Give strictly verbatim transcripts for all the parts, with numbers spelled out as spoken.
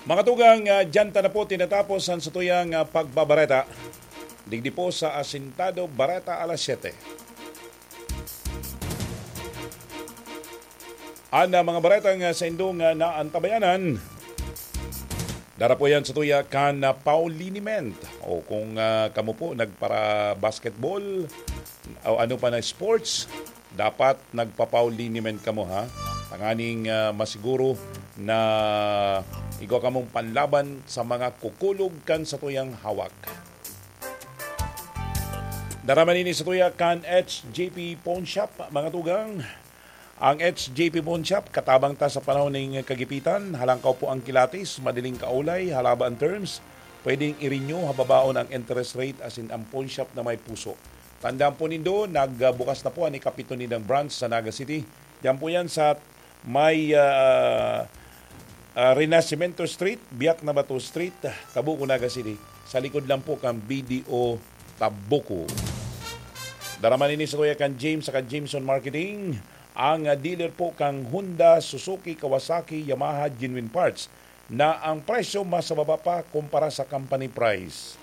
Mga tugang, ah, diyan ta na po tinatapos ang satuyang, ah, pagbabareta. Digdi po sa Asintado Bareta alas siyete. An, ah, mga baretang, ah, saindong, ah, naantabayanan, dara po yan sa tuya kan, ah, Pauliniment. O kung, ah, kamo po nagpara-basketball o ano pa na sports, dapat nagpa-Pauliniment kamo, ha? Tanganing, ah, masiguro na igwa kamong panlaban sa mga kukulog kan satuyang hawak. Dara man ini sa tuya kan H J P Pawn Shop, mga tugang. Ang H J P Pawn Shop, katabang ta sa panahon ning kagipitan, halangkaw po ang kilatis, madaling kaulay, halaba ang terms, pwedeng i-renew, hababaon ang interest rate, asin ang pawn shop na may puso. Tandaan po nindo, nagbukas na po ang ikapito nindang branch sa Naga City. Diyan po yan sa may, ah, ah, Renacimiento Street, Biak na Bato Street, Tabuco, Naga City. Sa likod lang po kan B D O Tabuco. Dara man ini sa tuya kan James saka Jameson Marketing. Ang, ah, dealer po kang Honda, Suzuki, Kawasaki, Yamaha, Genuine Parts na ang presyo mas mababa pa kumpara sa company price.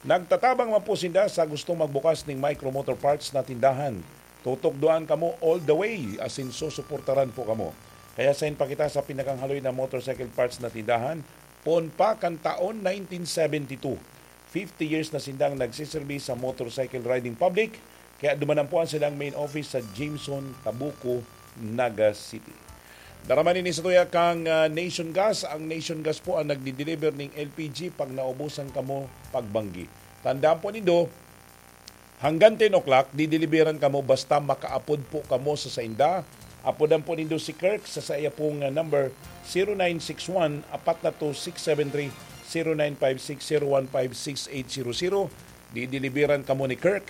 Nagtatabang man po sinda sa gustong magbukas ning Micro Motor Parts na tindahan. Tutukdoan kamo all the way, asin susuportaran po kamo. Kaya sain pa kita sa pinakang haloy na motorcycle parts na tindahan, poon pa kan taon nineteen seventy-two. Fifty years na sindang nagsiserbi sa motorcycle riding public, kaya dumanan po ang silang main office sa Jameson, Tabuco, Naga City. Dara man ini sa tuya kang, ah, Nation Gas. Ang Nation Gas po ang nagdi-deliver ning L P G pag naubusan kamo pagbanggi. Tandaan po nindo, hanggang ten o'clock, dideliveran kamo basta makaapod po kamo sa sainda. Apodan po nindo si Kirk sa saiya pong, ah, number, zero nine six one, apat na two six seven three, zero nine five six zero one five six eight zero zero. Dideliveran kamo ni Kirk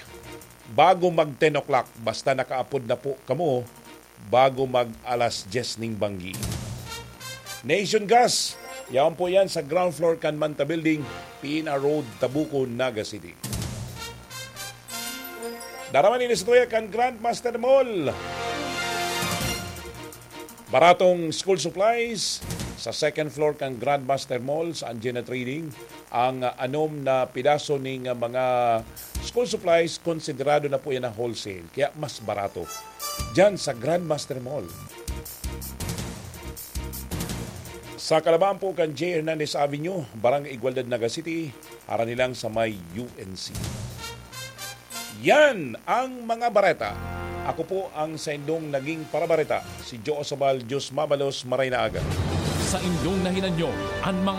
bago mag ten o'clock. Basta nakaapod na po kamo bago mag alas dyes ning banggi. Nation Gas, yaon po yan sa ground floor kan Manta Building, Pina Road, Tabuco, Naga City. Dara man ini sa tuya kan Grandmaster Mall. Baratong school supplies sa second floor kan Grandmaster Mall sa Anjena Trading. Ang, ah, anom na pidaso ning, ah, mga school supplies, konsiderado na po yan na wholesale, kaya mas barato. Diyan sa Grandmaster Mall. Sa kalabaan po kan J. Hernandez Avenue, Barangay Igualdad, Naga City, harani lang sa may U N C. Yan ang mga bareta. Ako po ang saindong naging parabareta, si Joe Osabal. Diyos mabalos, maray na aga. Sa inyong nahinanyo, an mga